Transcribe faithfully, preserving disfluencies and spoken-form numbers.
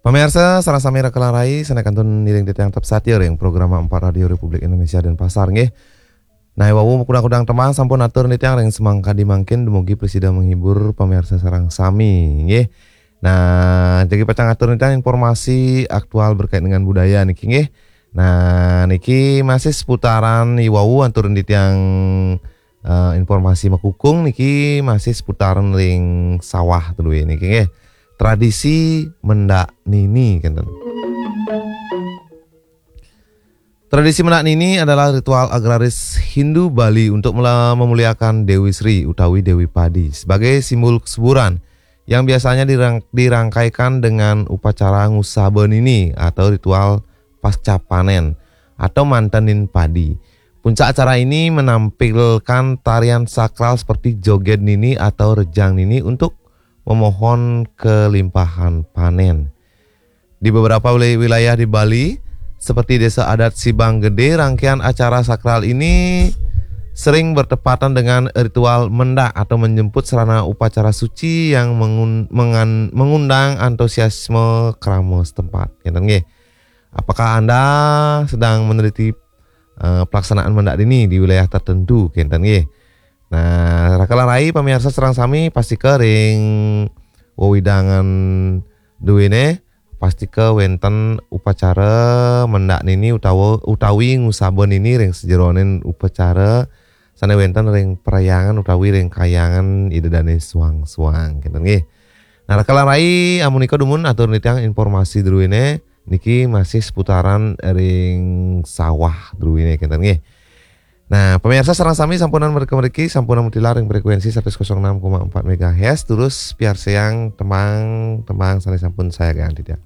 Pamirsa, sareng sami raka lan rai, sané kantun ngiring titiang tetep satia ring program empat Radio Republik Indonesia Denpasar nggih. Nah, wau kudang-kudang tembang sampun atur titiang ring semangkadi mangkin dumugi prasida menghibur pamirsa sareng sami nggih. Nah, jagi pacang atur titiang informasi aktual berkait dengan budaya niki nggih. Nah, niki masih seputaran iwau atur titiang eh, informasi makukung niki masih seputaran ring sawah tu duwé niki nggih. Tradisi mendak nini kenten. Tradisi mendak nini adalah ritual agraris Hindu Bali untuk mela- memuliakan Dewi Sri utawi Dewi Padi sebagai simbol kesuburan yang biasanya dirang- dirangkaikan dengan upacara ngusaba nini atau ritual pasca panen atau mantenin padi. Puncak acara ini menampilkan tarian sakral seperti joget nini atau rejang nini untuk memohon kelimpahan panen. Di beberapa wili- wilayah di Bali, seperti Desa Adat Sibang Gede, rangkaian acara sakral ini sering bertepatan dengan ritual mendak atau menjemput sarana upacara suci yang mengun- mengan- mengundang antusiasme krama setempat. Ngéten nggih. Apakah Anda sedang meneliti eh, pelaksanaan mendak nini di wilayah tertentu kenten nggih. Nah, raka lan rai pamirsa sareng sami pastika ring wewidangan duwéné pastika wénten upacara mendak nini utawa utawi ngusaba nini ring sajeroning upacara sané wénten ring perhyangan utawi ring kahyangan Ida Dané suang-suang kenten nggih. Nah, raka lan rai amunika dumun atur titiang informasi duwéné niki masih seputaran ring sawah duwéné kenten nggih. Nah, pemirsa sareng sami sampunang mriki-mriki sampunang mutilar ring frekuensi seratus enam koma empat megahertz terus piarsayang tembang-tembang sané sampun sayaga titiang.